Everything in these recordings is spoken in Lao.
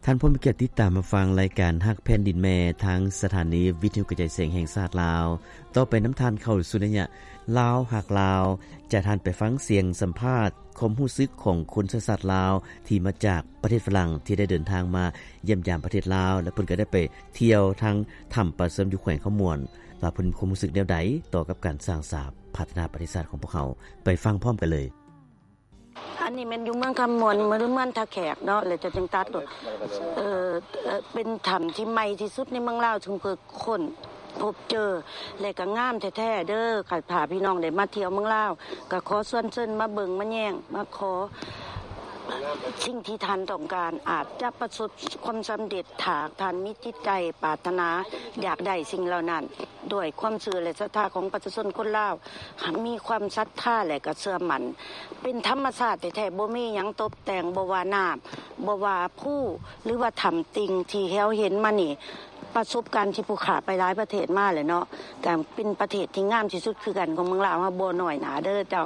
ທ່ານຜູ້ມີກຽດຕິດຕາມຮັບຟັງລາຍການຮັກແຜ່ນດິນແມ່ ທາງສະຖານີວິທະຍຸກະຈາຍສຽງແຫ່ງຊາດລາວ. ຕໍ່ໄປນຳທ່ານເຂົ້າສູ່ໄລຍະລາວຮັກລາວ ຈະທ່ານໄປຟັງສຽງສຳພາດຄວາມຮູ້ສຶກຂອງຄົນເຊື້ອຊາດລາວ ທີ່ມາຈາກປະເທດຝຣັ່ງ ທີ່ໄດ້ເດີນທາງມາຢ້ຽມຢາມປະເທດລາວ ແລະ ເພິ່ນກໍໄດ້ໄປທ່ຽວທາງຖ້ຳປາເຊື່ອມຢູ່ແຂວງຄຳມ່ວນ ວ່າເພິ່ນມີຄວາມຮູ້ສຶກແນວໃດຕໍ່ກັບການສ້າງສາພັດທະນາປະເທດຊາດຂອງພວກເຮົາ. ໄປຟັງພ້ອມກັນເລີຍ. ອັນນີ້ແມ່ນຢູ່ເມືອງຄຳມ່ວນ ເມືອງ ເມືອງທ່າແຂກເນາະ ແລ້ວຈະຈຶ່ງຕັດ ເອີ ເປັນຖ້ຳທີ່ໃໝ່ທີ່ສຸດໃນເມືອງລາວ ເຊິ່ງເພິ່ນຄົ້ນພົບເຈີ ແລະ ກໍງາມແທ້ໆເດີ. ຄັນຖ້າພີ່ນ້ອງໄດ້ມາທ່ຽວເມືອງລາວ ກໍຂໍຊວນເຊີນມາເບິ່ງມາແຍງ ມາຂໍສິ່ງທີ່ທ່ານຕ້ອງການ ອາດຈະປະສົບຄວາມສຳເລັດ ຖ້າທ່ານມີຈິດໃຈປາດຖະໜາຢາກໄດ້ສິ່ງເຫຼົ່ານັ້ນ ດ້ວຍຄວາມເຊື່ອ ແລະ ສັດທາຂອງປະຊາຊົນຄົນລາວ ມີຄວາມສັດທາ ແລະ ກໍເຊື່ອໝັ້ນ ເປັນທຳມະຊາດແທ້ໆ ບໍ່ມີຫຍັງຕົບແຕ່ງ ບໍ່ວ່ານ້ຳ ບໍ່ວ່າພູ ຫຼືວ່າຖ້ຳຕິ່ງທີ່ເຮົາເຫັນມານີ້. ປະສົບການທີ່ຜູ້ຂ້າໄປຫຼາຍປະເທດມາແລ້ວເນາະ ກໍເປັນປະເທດທີ່ງາມທີ່ສຸດຄືກັນຂອງເມືອງລາວເຮົາ ບໍ່ນ້ອຍໜ້າເດີເຈົ້າ.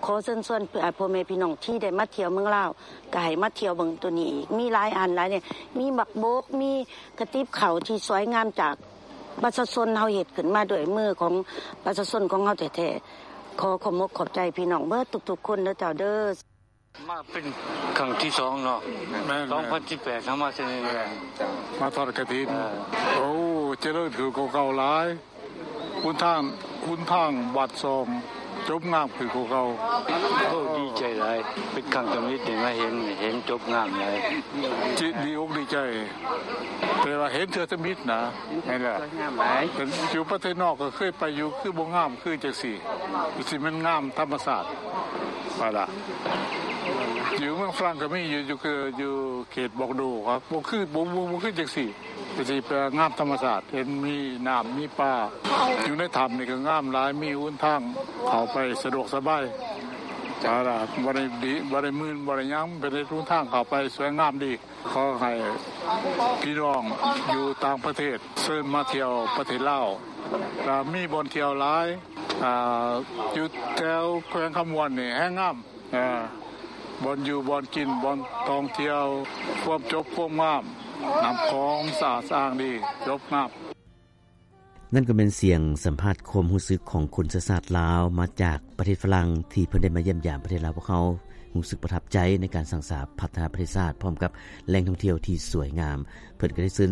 ຂໍເຊີນຊວນ ເອີ ພໍ່ແມ່ພີ່ນ້ອງທີ່ໄດ້ມາທ່ຽວເມືອງລາວ ກໍໃຫ້ມາທ່ຽວເບິ່ງໂຕນີ້ອີກ ມີຫຼາຍອັນຫຼາຍແນວ ມີໝາກບົກ ມີກະຕິບເຂົ້າທີ່ສວຍງາມຈາກ ປະຊາຊົນເຮົາເຮັດຂຶ້ນມາດ້ວຍມືຂອງປະຊາຊົນຂອງເຮົາແທ້ໆ. ຂໍຂອບອົກຂອບໃຈພີ່ນ້ອງເບິດທຸກໆຄົນເດີເຈົ້າເດີ. ມາເປັນຄັ້ງທີສອງເນາະ. ແມ່ນໆ. ສອງພັນສິບແປດ ເຮົາມາເທື່ອນີ້ແຫຼະ. ມາທອດກະຖິນ. ເອີ. ໂອ້ ຈະເລີນຂຶ້ນກວ່າເກົ່າຫຼາຍ. ຫົນທາງ ຫົນທາງບາດຊອງ ຈົບງາມຂຶ້ນກວ່າເກົ່າ. ໂອ້ ດີໃຈຫຼາຍ ເປັນຄັ້ງທຳອິດໄດ້ມາເຫັນ ເຫັນຈົບງາມຫຼາຍ ຈິ ດີອົກດີໃຈ ແຕ່ວ່າເຫັນເທື່ອທຳອິດນະ. ແມ່ນແຫຼະ ສວຍງາມຫຼາຍ. ເປັນ ຢູ່ປະເທດນອກກໍເຄີຍໄປຢູ່ ຄືບໍ່ງາມຄືຈັ່ງຊີ້ ຄືຊິແມ່ນງາມທຳມະຊາດວ່າລະ. ຢູ່ເມືອງຝຣັ່ງກໍມີຢູ່ ຢູ່ ຄື ຢູ່ເຂດບອກໂດ ກໍບໍ່ຄື ບໍ່ ບໍ່ ບໍ່ຄືຈັ່ງຊີ້. ກໍຊິໄປງາມທຳມະຊາດ ເຫັນມີນ້ຳມີປາ ຢູ່ໃນຖ້ຳນີ້ກໍງາມຫຼາຍ ມີຫົນທາງເຂົ້າໄປສະດວກສະບາຍ. ເອົາລະ ບໍ່ໄດ້ດີ ບໍ່ໄດ້ມື່ນ ບໍ່ໄດ້ຫຍັງ ເປັນຫົນທາງເຂົ້າໄປສວຍງາມດີ. ຂໍໃຫ້ພີ່ນ້ອງຢູ່ຕ່າງປະເທດເຊີນມາທ່ຽວປະເທດລາວ ລະມີບ່ອນທ່ຽວຫຼາຍ. ອາ ຢູ່ແຖວແຂວງຄຳມ່ວນນີ້ແຮງງາມ. ເອີ ບ່ອນຢູ່ ບ່ອນກິນ ບ່ອນທ່ອງທ່ຽວ ຄວາມຈົບ ຄວາມງາມ ນ້ຳຂອງສະອາດສະອ້າງດີ ຈົບງາມ. ນັ້ນກໍແມ່ນສຽງສຳພາດຄວາມຮູ້ສຶກຂອງຄົນເຊື້ອຊາດລາວມາຈາກປະເທດຝຣັ່ງ ທີ່ເພິ່ນໄດ້ມາຢ້ຽມຢາມປະເທດລາວພວກເຮົາ ຮູ້ສຶກປະທັບໃຈໃນການສ້າງສາພັດທະນາປະເທດຊາດ ພ້ອມກັບແຫຼ່ງທ່ອງທ່ຽວທີ່ສວຍງາມ. ເພິ່ນກໍໄດ້ເຊີນ